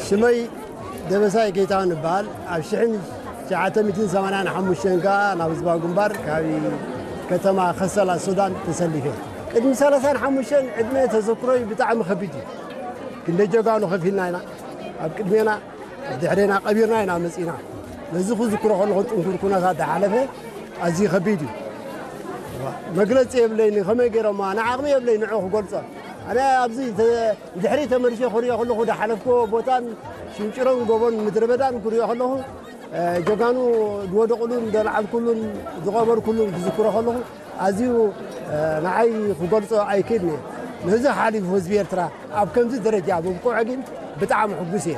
ሽመይ ደበሳይ ጌታሁን እበሃል። ኣብ ሽሕን ትሽዓተ ሚእትን ሰማንያን ሓሙሽተን ከኣ ናብ ህዝባዊ ግንባር ካብ ከተማ ከሰላ ሱዳን ተሰሊፈ። ቅድሚ ሰላሳን ሓሙሽተን ዕድመ ተዘክሮይ ብጣዕሚ ከቢድ እዩ። ክንደይ ጀጋኑ ከፊልና ኢና። ኣብ ቅድሜና ኣብ ድሕሬና ቀቢርና ኢና መጺና። ነዚ ክዝክሮ ከለኹ ጥንኩር ኩነታት ዝሓለፈ ኣዝዩ ከቢድ እዩ። መግለጺ የብለይን፣ ከመይ ገይሮማ ንዓቕሚ የብለይ ንዑ ክገልጾ። ኣነ ኣብዚ ድሕሪ ተመልሼ ክሪኦ ከለኹ ዝሓለፍክዎ ቦታን ሽንጭሮን ጎቦን ምድረ በዳን ክሪኦ ከለኹ ጀጋኑ ዝወደቕሉን ዘለዓልኩሉን ዝቐበርኩሉን ክዝክሮ ከለኹ ኣዝዩ ንዓይ ክገልጾ ኣይክእልን እየ። ነዚ ሓሊፉ ህዝቢ ኤርትራ ኣብ ከምዚ ደረጃ ምብቅዑ ግን ብጣዕሚ ሕጉስ እየ።